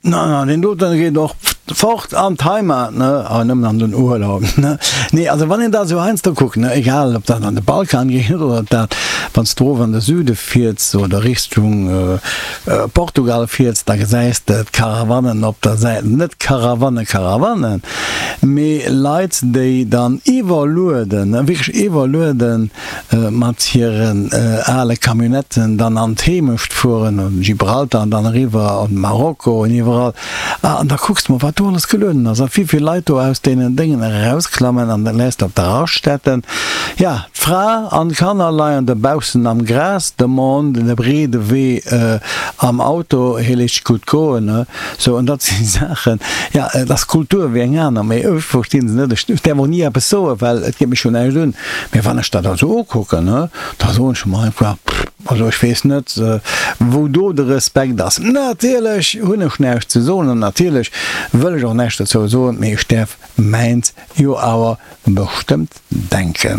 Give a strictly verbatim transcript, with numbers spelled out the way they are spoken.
Na, na, deen doten geet och fort an d'Heimat, ne, awer nëmmen an den Urlaub, ne. Nee, also wann een dat esou heiansdo kuckt, ne, egal ob dat an de Balkan geet oder ob dat, wann s du erof an de Süde fiers oder Richtung Portugal fiers, da gesäis de d'Caravanen op der Säit, net Karawanne, Caravanen, mee Leit, déi dann iwwerlueden, wierklech iwwerlueden mat hiren ale Camionnetten dann an d'Heemecht fueren, an Gibraltar an dann eriwwer an Marokko an iwwerall. An da kucks de mol, wat do alles gelueden ass a wéivill Leit do aus deenen Déngen erausklammen an dat lässt op der Raststätten. Ja, d'Fra an d'Kanner leien dobaussen am Gras, de Mann de breede Wee am Auto, hie léisst sech gutt goen. Sou, an dat si Saachen, ja, et ass Kultur wéi eng aner, mee ech versti se net. Ech däerf och ni eppes soen, well et geet mech jo näischt un. Mee wann ech dat also ukucken, da soen ech mer einfach, pff, also ech weess net, wou do de Respekt ass. Natierlech hunn ech näischt ze soen an natierlech wëll ech och näischt dozou soen, mee ech däerf mäins jo awer bestëmmt denken.